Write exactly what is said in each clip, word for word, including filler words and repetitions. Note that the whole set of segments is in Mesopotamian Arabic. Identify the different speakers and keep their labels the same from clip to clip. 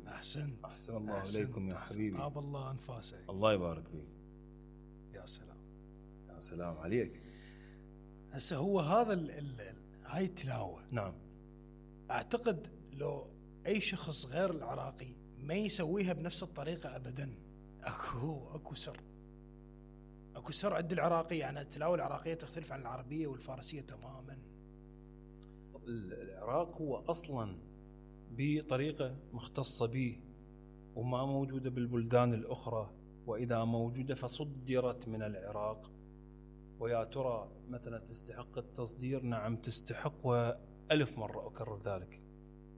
Speaker 1: احسنت.
Speaker 2: احسن الله اليكم يا حبيبي.
Speaker 1: طاب الله انفاسك.
Speaker 2: الله يبارك فيك.
Speaker 1: يا سلام
Speaker 2: يا سلام عليك.
Speaker 1: هسه هو هذا ال ال هاي التلاوه.
Speaker 2: نعم.
Speaker 1: اعتقد لو اي شخص غير العراقي ما يسويها بنفس الطريقه ابدا. اكو اكو سر. اكو سر عند العراقي، يعني التلاوه العراقيه تختلف عن العربيه والفارسيه تماما.
Speaker 2: العراق هو اصلا بطريقه مختصه به وما موجوده بالبلدان الاخرى، واذا موجوده فصدرت من العراق. ويا ترى مثلا تستحق التصدير؟ نعم تستحق، وألف مره اكرر ذلك،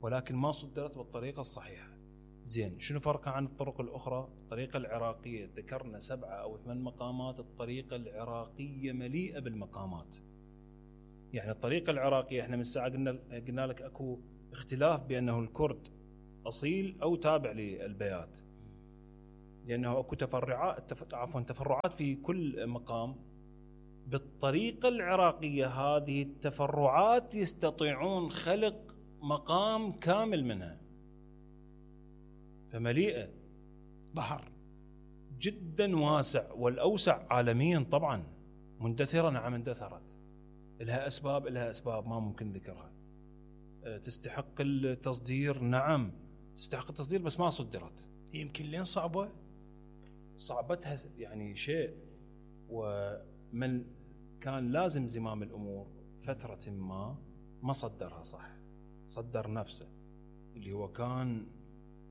Speaker 2: ولكن ما صدرت بالطريقه الصحيحه. زين، شنو فرقها عن الطرق الاخرى؟ الطريقه العراقيه ذكرنا سبعه او ثمان مقامات، الطريقه العراقيه مليئه بالمقامات. يعني الطريقه العراقيه احنا من ساعه قلنا قلنا لك اكو اختلاف بانه الكرد اصيل او تابع للبيات، لانه اكو تفرعات عفوا تفرعات في كل مقام. بالطريقه العراقيه هذه التفرعات يستطيعون خلق مقام كامل منها، فمليئه
Speaker 1: بحر
Speaker 2: جدا واسع، والاوسع عالميا طبعا. مندثره، نعم اندثرت، لها اسباب لها اسباب ما ممكن ذكرها. تستحق التصدير؟ نعم تستحق التصدير، بس ما صدرت.
Speaker 1: يمكن لين صعبه؟
Speaker 2: صعبتها يعني شيء، ومن كان لازم زمام الامور فتره ما ما صدرها صح، صدر نفسه اللي هو كان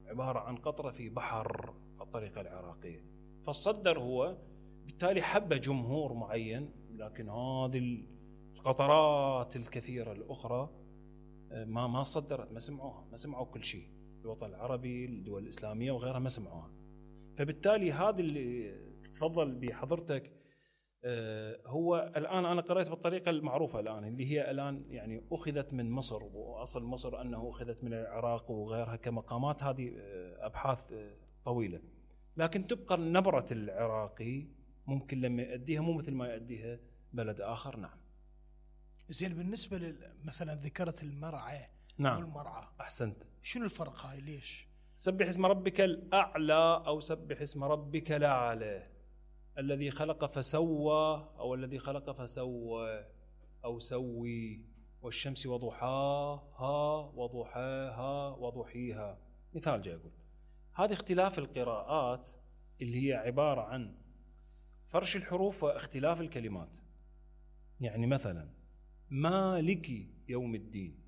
Speaker 2: عباره عن قطره في بحر الطريقه العراقيه، فالصدر هو بالتالي حب جمهور معين، لكن هذه القطرات الكثيره الاخرى ما ما صدرت، ما سمعوها، ما سمعوا كل شيء. الوطن العربي، الدول الاسلاميه وغيرها ما سمعوها. فبالتالي هذا اللي تتفضل بحضرتك هو الان انا قرأت بالطريقه المعروفه الان، اللي هي الان يعني اخذت من مصر، واصل مصر انه اخذت من العراق وغيرها كمقامات. هذه ابحاث طويله، لكن تبقى نبره العراقي ممكن لما يؤديها مو مثل ما يؤديها بلد اخر. نعم.
Speaker 1: زين، بالنسبه مثلا ذكرت المرعى.
Speaker 2: نعم
Speaker 1: والمرعى.
Speaker 2: احسنت.
Speaker 1: شنو الفرق هاي؟ ليش؟
Speaker 2: سبح اسم ربك الاعلى او سبح اسم ربك الاعلى، الذي خلق فسوى او الذي خلق فسوى او سوي، والشمس وضحاها وضحاها وضحيها. مثال جاي اقول هذه اختلاف القراءات اللي هي عباره عن فرش الحروف واختلاف الكلمات. يعني مثلا مالك يوم الدين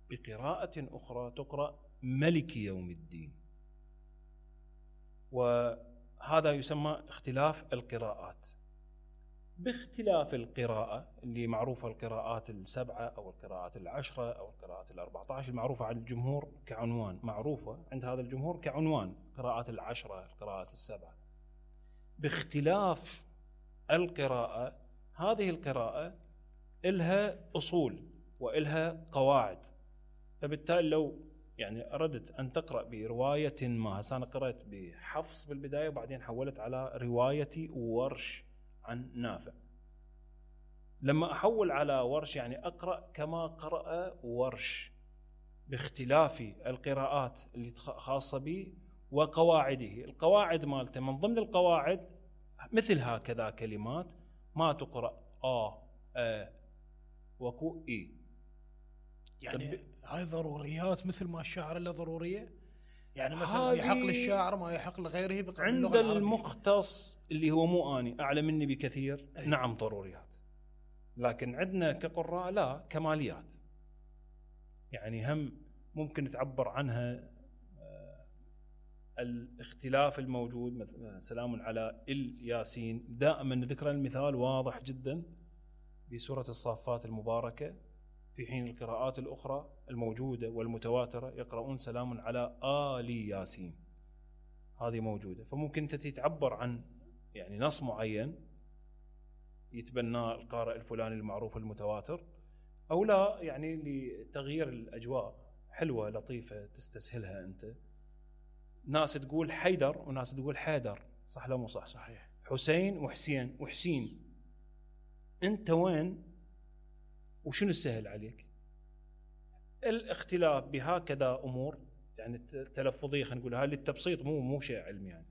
Speaker 2: بقراءة أخرى تقرأ ملك يوم الدين، وهذا يسمى اختلاف القراءات. باختلاف القراءة اللي معروفة القراءات السبعة أو القراءات العشرة أو القراءات الأربعة عشر المعروفة عن الجمهور كعنوان، معروفة عند هذا الجمهور كعنوان قراءات العشرة القراءات السبعة. باختلاف القراءة هذه القراءة إلها أصول وإلها قواعد، فبالتالي لو يعني أردت أن تقرأ برواية ما، هسه أنا قرأت بحفص بالبداية وبعدين حولت على رواية ورش عن نافع. لما أحول على ورش يعني أقرأ كما قرأ ورش، باختلاف القراءات اللي خاصة به وقواعده. القواعد مالته من ضمن القواعد مثل هكذا كلمات ما تقرأ آ آ وكو إي،
Speaker 1: يعني هاي ضروريات مثل ما الشاعر له ضرورية. يعني مثلا يحق للشاعر ما يحق لغيره
Speaker 2: عند المختص اللي هو مو أني أعلى مني بكثير.
Speaker 1: أي.
Speaker 2: نعم ضروريات، لكن عندنا كقراء لا، كماليات. يعني هم ممكن تعبر عنها الاختلاف الموجود. مثلا سلام على الياسين، دائما ذكر المثال واضح جدا بسورة الصافات المباركة، في حين القراءات الأخرى الموجودة والمتواترة يقرؤون سلام على آل ياسين، هذه موجودة. فممكن أنت تعبر عن يعني نص معين يتبناه القارئ الفلاني المعروف المتواتر، أو لا يعني لتغيير الأجواء حلوة لطيفة تستسهلها أنت. ناس تقول حيدر وناس تقول حيدر، صح لا مو صح؟
Speaker 1: صحيح.
Speaker 2: حسين وحسين وحسين، أنت وين وشنو السهل عليك؟ الاختلاف بهكذا امور يعني تلفظيه خلينا نقول هاي للتبسيط مو مو شيء علمي يعني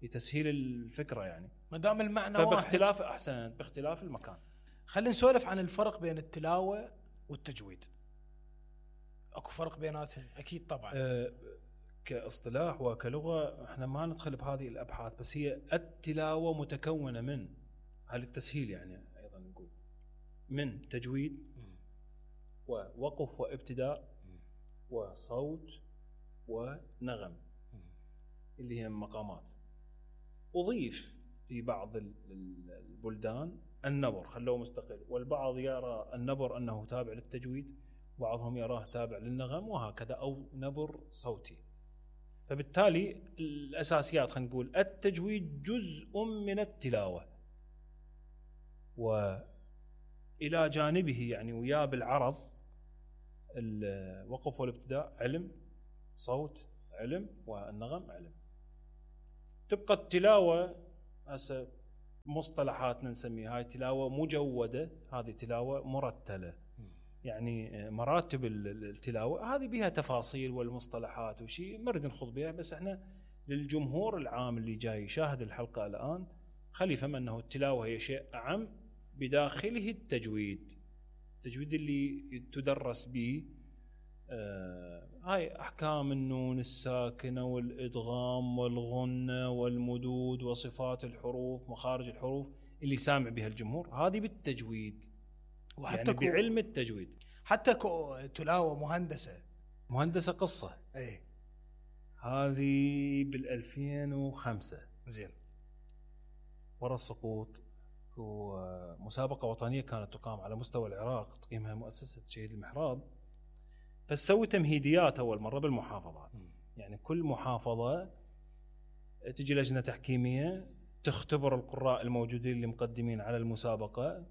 Speaker 2: لتسهيل الفكره يعني
Speaker 1: ما دام المعنى واحد
Speaker 2: فباختلاف احسن باختلاف المكان.
Speaker 1: خلينا نسولف عن الفرق بين التلاوه والتجويد. اكو فرق بيناتهم اكيد طبعا.
Speaker 2: أه كاصطلاح وكلغه احنا ما ندخل بهذه الابحاث بس هي التلاوه متكونه من هل التسهيل يعني ايضا نقول من تجويد ووقف وابتداء وصوت ونغم اللي هي مقامات. أضيف في بعض البلدان النبر خلوه مستقل والبعض يرى النبر أنه تابع للتجويد وبعضهم يراه تابع للنغم وهكذا أو نبر صوتي. فبالتالي الأساسيات خلينا نقول التجويد جزء من التلاوة وإلى جانبه يعني ويا بالعرض الوقف والابتداء علم صوت علم والنغم علم. تبقى التلاوة هسه مصطلحاتنا نسميها هاي تلاوة مجودة هذه تلاوة مرتلة يعني مراتب التلاوة هذه بها تفاصيل والمصطلحات وشيء ما نريد نخوض بها بس احنا للجمهور العام اللي جاي يشاهد الحلقة الآن خلي يفهم أنه التلاوة هي شيء أعم بداخله التجويد. التجويد اللي تدرس به آه هاي أحكام النون الساكنة والإدغام والغنة والمدود وصفات الحروف مخارج الحروف اللي سامع بها الجمهور هذه بالتجويد وحتى يعني بعلم التجويد.
Speaker 1: حتى تلاوة مهندسة
Speaker 2: مهندسة قصة
Speaker 1: ايه
Speaker 2: هذه بالألفين وخمسة
Speaker 1: زين
Speaker 2: ورا السقوط ومسابقة وطنية كانت تقام على مستوى العراق تقيمها مؤسسة شهيد المحراب فسوي تمهيديات أول مرة بالمحافظات م. يعني كل محافظة تجي لجنة تحكيمية تختبر القراء الموجودين اللي مقدمين على المسابقة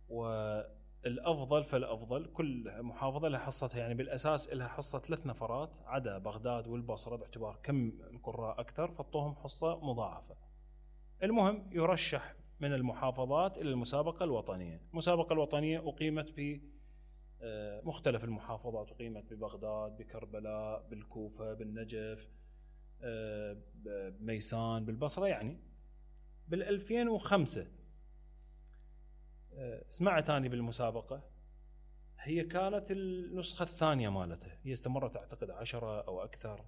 Speaker 2: والأفضل فالأفضل كل محافظة لها حصتها يعني بالأساس لها حصة ثلاث نفرات عدا بغداد والبصرة باعتبار كم القراء أكثر فطوهم حصة مضاعفة. المهم يرشح من المحافظات إلى المسابقة الوطنية. المسابقة الوطنية أقيمت في مختلف المحافظات أقيمت ببغداد بكربلاء بالكوفة بالنجف بميسان بالبصرة يعني بالألفين وخمسة سمعت أنا بالمسابقة هي كانت النسخة الثانية مالتها هي استمرت أعتقد عشرة أو أكثر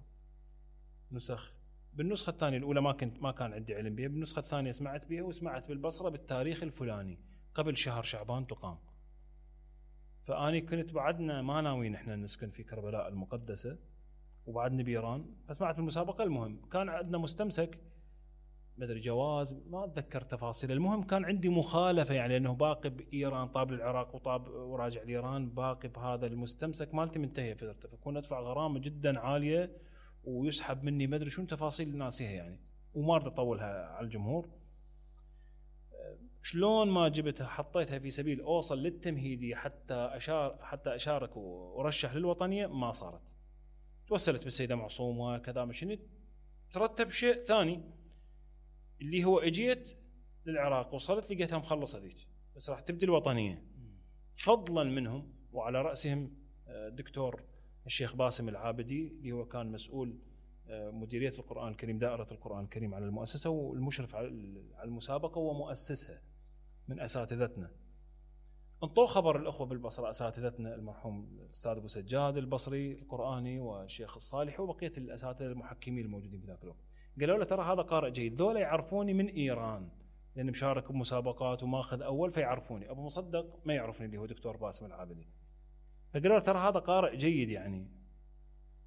Speaker 2: نسخ. بالنسخة الثانية الأولى ما كنت ما كان عندي علم بها بالنسخة الثانية سمعت بها وسمعت بالبصرة بالتاريخ الفلاني قبل شهر شعبان تقام. فأني كنت بعدنا ما ناويين إحنا نسكن في كربلاء المقدسة وبعدنا بإيران فسمعت بالمسابقة. المهم كان عندنا مستمسك مدري جواز ما أتذكر تفاصيل. المهم كان عندي مخالفة يعني أنه باقي بإيران طاب العراق وطاب وراجع لإيران باقي بهذا المستمسك مالتي منتهية فترته فكون أدفع غرامة جدا عالية ويسحب مني مدري شو تفاصيل ناسيها يعني وما أريد أطولها على الجمهور. شلون ما جبتها حطيتها في سبيل أوصل للتمهيدي حتى أشار حتى أشارك ورشح للوطنية ما صارت. توصلت بالسيدة معصومة كذا مشيت ترتب شيء ثاني اللي هو اجيت للعراق وصلت لقيتها مخلصة ذيك بس راح تبدي الوطنية فضلا منهم وعلى رأسهم دكتور الشيخ باسم العابدي اللي هو كان مسؤول مديرية القرآن الكريم دائرة القرآن الكريم على المؤسسة والمشرف على المسابقة ومؤسسها من أساتذتنا. انطوا خبر الأخوة بالبصرة أساتذتنا المرحوم الأستاذ أبو سجاد البصري القرآني والشيخ الصالح وبقية الأساتذة المحكمين الموجودين في ذاك الوقت قالوا له ترى هذا قارئ جيد ذولا يعرفوني من إيران لأن مشارك بمسابقات وماخذ أول فيعرفوني. أبو مصدق ما يعرفني اللي هو دكتور باسم العابدي فقالوا له ترى هذا قارئ جيد يعني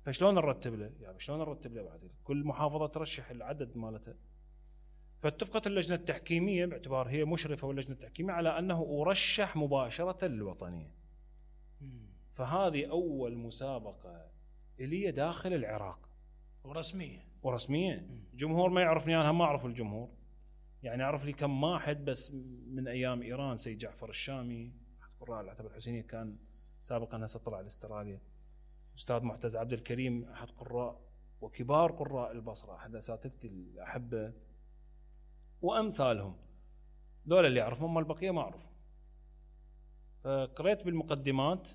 Speaker 2: فشلون نرتب له يعني شلون نرتب له بعد كل محافظة ترشح العدد مالته. فاتفقت اللجنة التحكيمية باعتبار هي مشرفة واللجنة التحكيمية على أنه أرشح مباشرة للوطنية. فهذه أول مسابقة إلي داخل العراق
Speaker 1: ورسمية
Speaker 2: ورسمية. جمهور ما يعرفني أنا ما أعرف الجمهور يعني أعرف لي كم واحد بس من أيام إيران سيد جعفر الشامي أحد قراء العتبة الحسينية كان سابقا هسه طلع لاستراليا. أستاذ معتز عبد الكريم أحد قراء وكبار قراء البصرة أحد أساتذتي الأحبة وأمثالهم دول اللي أعرفهم أما البقية ما أعرف. فقريت بالمقدمات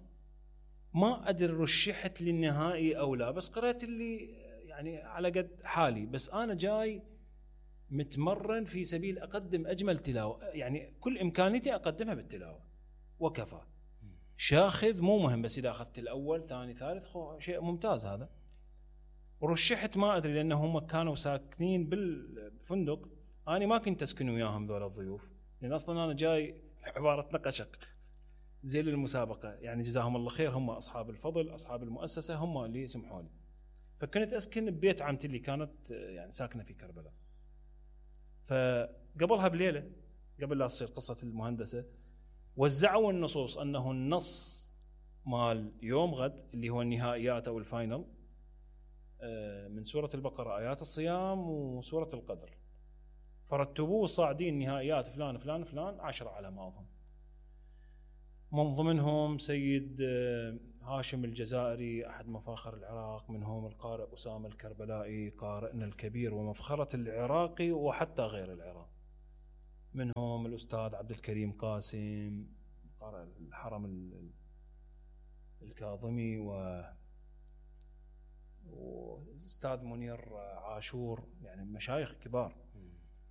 Speaker 2: ما ادري رشحت للنهائي او لا، بس قرأت اللي يعني على قد حالي. بس انا جاي متمرن في سبيل اقدم اجمل تلاوه، يعني كل امكانيتي اقدمها بالتلاوه وكفى. شاخذ مو مهم، بس اذا اخذت الاول ثاني ثالث شيء ممتاز هذا. ورشحت ما ادري لانه هم كانوا ساكنين بالفندق، انا ما كنت اسكن وياهم ذول الضيوف، لان اصلا انا جاي عباره نقشق زي المسابقه، يعني جزاهم الله خير، هم اصحاب الفضل اصحاب المؤسسه هم اللي سمحوا لي. فكنت اسكن ببيت عمتي اللي كانت يعني ساكنه في كربلاء. فقبلها بليله قبل لا تصير قصه المهندسه وزعوا النصوص انه النص مال يوم غد اللي هو النهائيات او الفاينل من سوره البقره، ايات الصيام وسوره القدر، فرتبوه صاعدين نهائيات فلان فلان فلان عشرة على ما اظن، من ضمنهم سيد هاشم الجزائري احد مفاخر العراق، منهم القارئ اسامه الكربلائي قارئنا الكبير ومفخره العراقي وحتى غير العراق، منهم الاستاذ عبد الكريم قاسم قارئ الحرم الكاظمي، و واستاذ منير عاشور، يعني مشايخ كبار،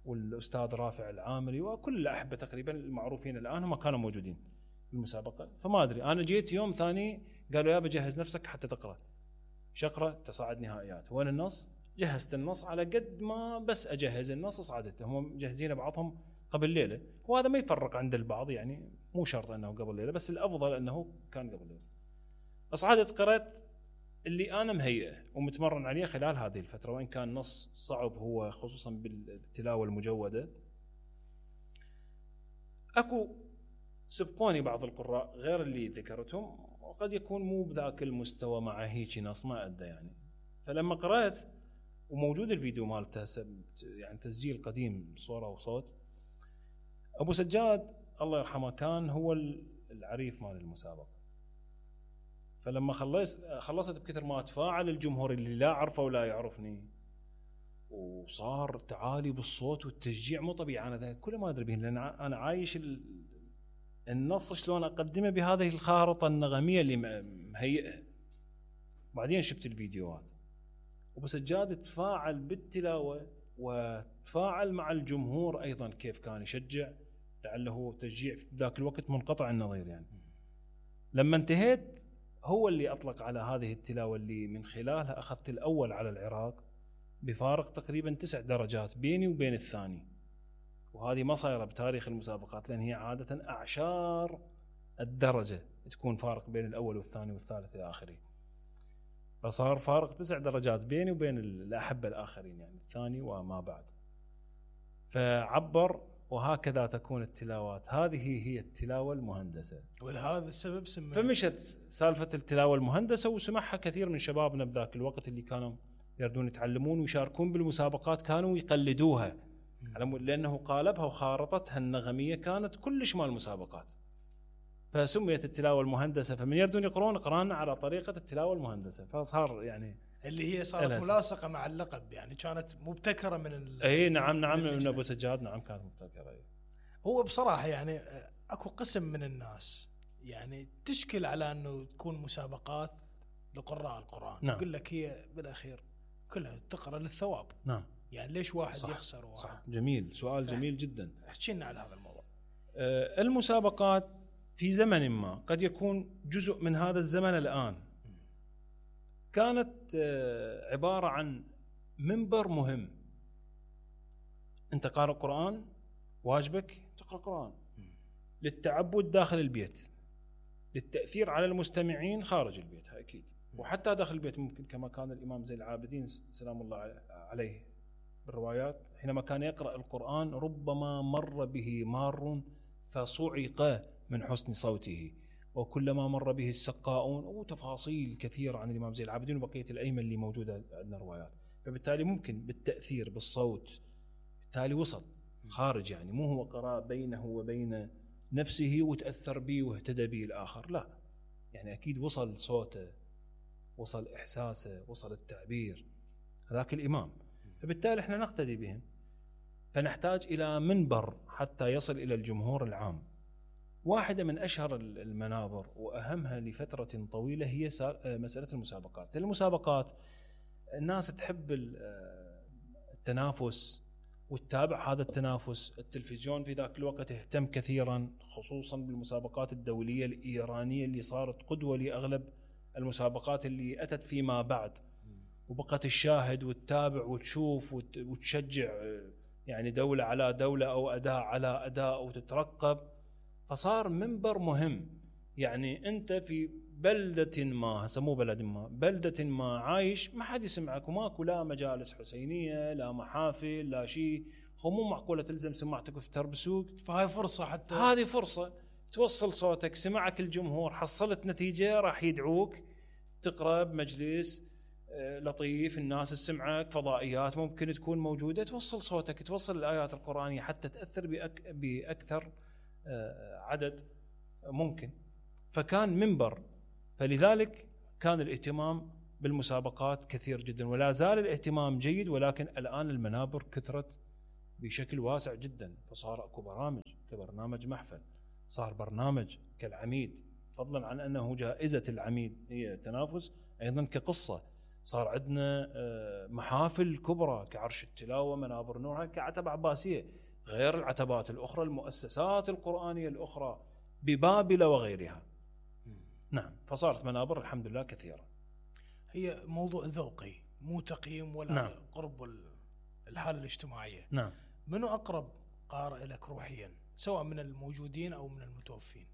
Speaker 2: والاستاذ رافع العامري، وكل الاحبه تقريبا المعروفين الان هم كانوا موجودين بالمسابقه. فما ادري، انا جيت يوم ثاني قالوا يا بجهز نفسك حتى تقرا، شقرا تصعد نهائيات، وين النص؟ جهزت النص على قد ما بس اجهز النص صعدته، هم مجهزين بعضهم قبل ليله، وهذا ما يفرق عند البعض، يعني مو شرط انه قبل ليله، بس الافضل انه كان قبل ليله. اصعدت قرأت اللي انا مهيئه ومتمرن عليه خلال هذه الفتره، وان كان نص صعب هو خصوصا بالتلاوه المجوده. اكو سبقوني بعض القراء غير اللي ذكرتهم، وقد يكون مو بذاك المستوى مع هيك نص ما ادى يعني. فلما قرأت وموجود الفيديو مالته يعني تسجيل قديم صوره وصوت، ابو سجاد الله يرحمه كان هو العريف مال المسابقه. فلما خلصت خلصت بكثر ما تفاعل الجمهور اللي لا عرفه ولا يعرفني، وصار تعالي بالصوت والتشجيع مو طبيعي. انا كله ما ادري به، لان انا عايش النص شلون اقدمه بهذه الخارطه النغميه اللي مهيئه. بعدين شفت الفيديوهات، وابو سجاد تفاعل بالتلاوه وتفاعل مع الجمهور ايضا، كيف كان يشجع، لعله تشجيع في ذاك الوقت منقطع النظير يعني. لما انتهيت هو اللي أطلق على هذه التلاوة اللي من خلالها أخذت الأول على العراق بفارق تقريبا تسع درجات بيني وبين الثاني، وهذه ما صايرة بتاريخ المسابقات، لأن هي عادة أعشار الدرجة تكون فارق بين الأول والثاني والثالث إلى آخره. فصار فارق تسع درجات بيني وبين الأحبة الآخرين، يعني الثاني وما بعد. فعبر، وهكذا تكون التلاوات، هذه هي التلاوة المهندسة،
Speaker 1: ولهذا السبب سميت.
Speaker 2: فمشت سالفة التلاوة المهندسة وسمعها كثير من شبابنا بذاك الوقت اللي كانوا يردون يتعلمون ويشاركون بالمسابقات، كانوا يقلدوها لأنه قالبها وخارطتها النغمية كانت كلش مال المسابقات، فسميت التلاوة المهندسة. فمن يردون يقرون قرانا على طريقة التلاوة المهندسة، فصار يعني
Speaker 1: اللي هي صارت ملاصقة مع اللقب، يعني كانت مبتكرة من ال
Speaker 2: اي نعم نعم من ابو سجاد، نعم كانت مبتكرة. أي.
Speaker 1: هو بصراحة يعني اكو قسم من الناس يعني تشكل على انه تكون مسابقات لقراء القرآن،
Speaker 2: نعم.
Speaker 1: يقول لك هي بالاخير كلها تقرأ للثواب،
Speaker 2: نعم.
Speaker 1: يعني ليش واحد
Speaker 2: صح.
Speaker 1: يخسر واحد؟
Speaker 2: صح. جميل، سؤال جميل جدا.
Speaker 1: احكي لنا على هذا الموضوع.
Speaker 2: آه المسابقات في زمن ما قد يكون جزء من هذا الزمن الآن، كانت آه عبارة عن منبر مهم. انت قارئ قرآن، واجبك تقرأ قرآن للتعبد داخل البيت، للتأثير على المستمعين خارج البيت أكيد، وحتى داخل البيت ممكن، كما كان الإمام زين العابدين سلام الله عليه بالروايات حينما كان يقرأ القرآن ربما مر به مار فصعق من حسن صوته، وكلما مر به السقاؤون، وتفاصيل كثيرة عن الإمام زين العابدين وبقية الأئمة اللي موجودة عندنا روايات. فبالتالي ممكن بالتأثير بالصوت بالتالي وصل خارج، يعني مو هو قرأ بينه وبين نفسه وتأثر به واهتدى به الآخر، لا، يعني أكيد وصل صوته، وصل إحساسه، وصل التعبير، هذاك الإمام. فبالتالي احنا نقتدي بهم، فنحتاج إلى منبر حتى يصل إلى الجمهور العام، واحدة من أشهر المنابر وأهمها لفترة طويلة هي مسألة المسابقات. المسابقات الناس تحب التنافس وتتابع هذا التنافس. التلفزيون في ذاك الوقت اهتم كثيرا خصوصا بالمسابقات الدولية الإيرانية اللي صارت قدوة لأغلب المسابقات اللي أتت فيما بعد، وبقت الشاهد وتتابع وتشوف وتشجع يعني دولة على دولة أو أداء على أداء وتترقب. فصار منبر مهم. يعني أنت في بلدة ما، هسه مو بلد ما، بلدة ما عايش ما حد يسمعك وماكو لا مجالس حسينية لا محافل لا شيء، هو مو معقولة تلزم سماعتك في تربسوك.
Speaker 1: فهاي فرصة، حتى
Speaker 2: هذه فرصة توصل صوتك، سمعك الجمهور، حصلت نتيجة راح يدعوك تقرأ بمجلس لطيف، الناس تسمعك، فضائيات ممكن تكون موجودة، توصل صوتك، توصل الآيات القرآنية حتى تأثر بأك بأكثر عدد ممكن. فكان منبر، فلذلك كان الاهتمام بالمسابقات كثير جدا، ولا زال الاهتمام جيد، ولكن الآن المنابر كثرت بشكل واسع جدا. فصار اكو برامج كبرنامج محفل، صار برنامج كالعميد، فضلا عن أنه جائزة العميد هي تنافس، أيضا كقصة. صار عندنا محافل كبرى كعرش التلاوة، منابر نورها، كعتبة عباسية، غير العتبات الأخرى، المؤسسات القرآنية الأخرى ببابل وغيرها. نعم، فصارت منابر الحمد لله كثيرة.
Speaker 1: هي موضوع ذوقي مو تقييم ولا
Speaker 2: نعم.
Speaker 1: قرب الحالة الاجتماعية.
Speaker 2: نعم.
Speaker 1: منو أقرب قارئ لك روحيا سواء من الموجودين أو من المتوفين؟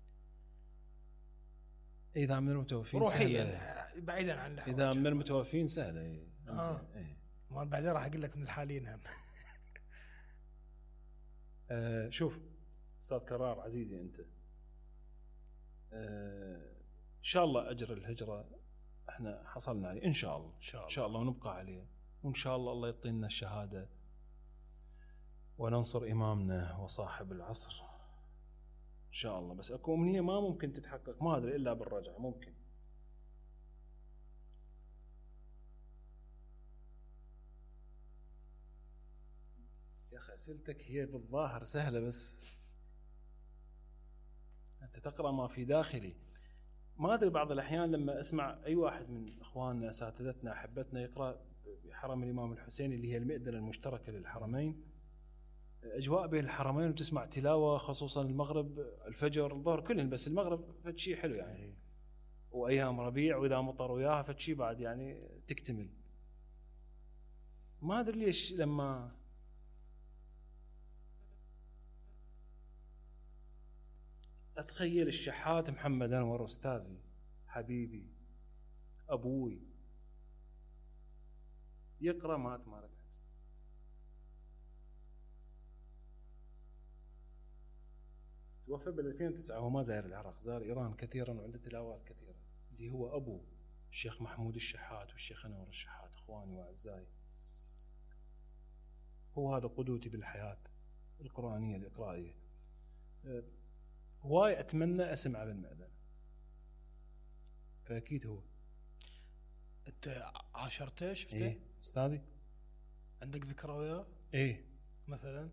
Speaker 2: إذا من المتوفين
Speaker 1: روحيا بعيدا عن
Speaker 2: إذا من المتوفين سهلة.
Speaker 1: آه. إيه. ما بعدين راح أقول لك من الحاليين هم.
Speaker 2: آه شوف أستاذ كرار عزيزي، أنت آه إن شاء الله أجر الهجرة إحنا حصلنا عليه إن شاء الله، إن شاء الله, إن شاء الله ونبقى عليه، وإن شاء الله الله يعطينا الشهادة وننصر إمامنا وصاحب العصر إن شاء الله. بس أكو أمنية ما ممكن تتحقق، ما أدري إلا بالرجعة ممكن. يا أخي أسئلتك هي بالظاهر سهلة، بس أنت تقرأ ما في داخلي. ما أدري بعض الأحيان لما أسمع أي واحد من إخواننا أساتذتنا أحبتنا يقرأ بحرم الإمام الحسين اللي هي المئذنة المشتركة للحرمين، أجواء بين الحرمين، وتسمع تلاوة خصوصا المغرب، الفجر، الظهر، كلهم، بس المغرب فشي حلو يعني، وأيام ربيع وإذا مطر وياها فشي بعد يعني تكتمل. ما أدري ليش لما أتخيل الشحات محمد أنور أستاذي حبيبي أبوي يقرأ مات مالك توفى بال ألفين وتسعة، هو ما زار العراق، زار إيران كثيرا وعنده تلاوات كثيرة، اللي هو أبو الشيخ محمود الشحات والشيخ أنور الشحات، إخواني وأعزائي. هو هذا قدوتي بالحياة القرآنية الإقرائية. أه هواي أتمنى أسمع بالمأذن، فأكيد هو.
Speaker 1: أنت عاشرته شفته؟
Speaker 2: إيه أستاذي.
Speaker 1: عندك ذكرى وياه؟
Speaker 2: إيه
Speaker 1: مثلا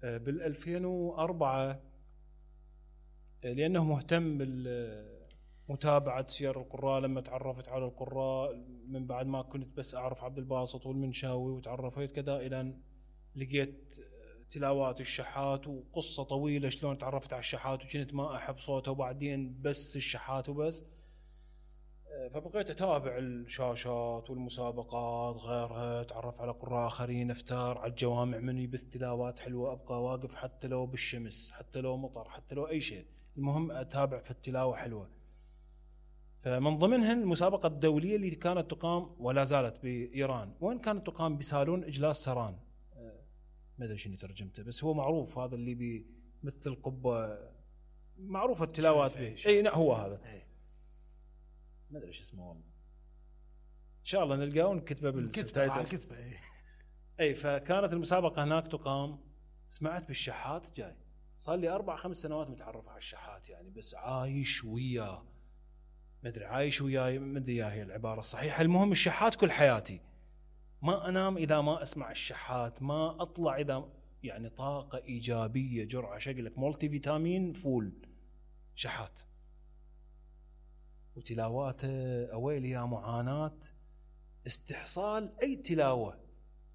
Speaker 2: بال ألفين وأربعة، لأنه مهتم بمتابعة سير القراء. لما تعرفت على القراء من بعد ما كنت بس أعرف عبد الباسط والمنشاوي وتعرفت كذا، إلى لقيت تلاوات الشحات وقصة طويلة شلون تعرفت على الشحات وكنت ما أحب صوته، وبعدين بس الشحات وبس. فبقيت أتابع الشاشات والمسابقات غيرها، تعرف على قراء آخرين، أفتار على الجوامع من يبث تلاوات حلوة، أبقى واقف حتى لو بالشمس، حتى لو مطر، حتى لو أي شيء، المهم أتابع في التلاوة حلوة. فمن ضمنهن المسابقة الدولية اللي كانت تقام ولا زالت بإيران، وين كانت تقام بسالون إجلاس سران، ما أدري شنو ترجمته، بس هو معروف هذا اللي بمثل القبة، معروفة التلاوات به. أي نعم هو هذا، ما ادري ايش اسمه والله، ان شاء الله نلقاه ونكتبه بالكتابه. اي فكانت المسابقه هناك تقام. سمعت بالشحات جاي، صار لي اربع خمس سنوات متعرف على الشحات يعني، بس عايش وياه، ما ادري عايش وياي، ما ادري هي العباره الصحيحه. المهم الشحات كل حياتي، ما انام اذا ما اسمع الشحات، ما اطلع اذا يعني طاقه ايجابيه، جرعه شكلك مولتي فيتامين فول شحات. وتلاواته اويلي يا معاناه استحصال اي تلاوه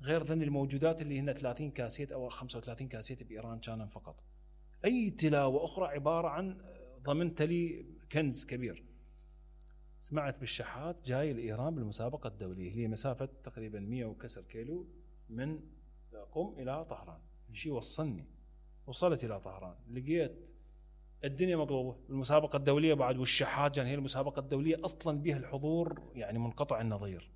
Speaker 2: غير ذن الموجودات اللي هن ثلاثين كاسيت او خمسة وثلاثين كاسيت بايران كانوا فقط. اي تلاوه اخرى عباره عن ضمنت لي كنز كبير. سمعت بالشحات جاي لايران بالمسابقه الدوليه، هي مسافه تقريبا مئة وكسر كيلو من قم الى طهران، شيء وصلني. وصلت الى طهران لقيت الدنيا مقلوبه، المسابقه الدوليه بعد، والشحات كان هي المسابقه الدوليه اصلا بها الحضور يعني منقطع النظير.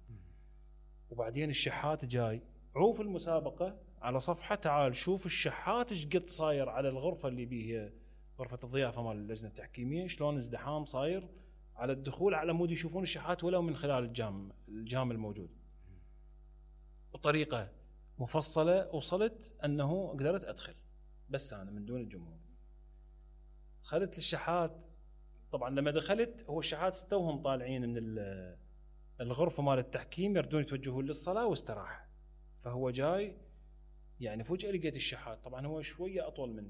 Speaker 2: وبعدين الشحات جاي عوف المسابقه على صفحه، تعال شوف الشحات ايش قد صاير على الغرفه اللي بيه غرفه الضيافه مال اللجنه التحكيميه، شلون ازدحام صاير على الدخول على مود يشوفون الشحات ولو من خلال الجام الجام الموجود. بطريقه مفصله وصلت انه قدرت ادخل بس انا من دون الجمهور. دخلت للشحات، طبعا لما دخلت هو الشحات استوهم طالعين من الغرفه مال التحكيم يردون يتوجهون للصلاه واستراح. فهو جاي يعني فجاه لقيت الشحات، طبعا هو شويه اطول مني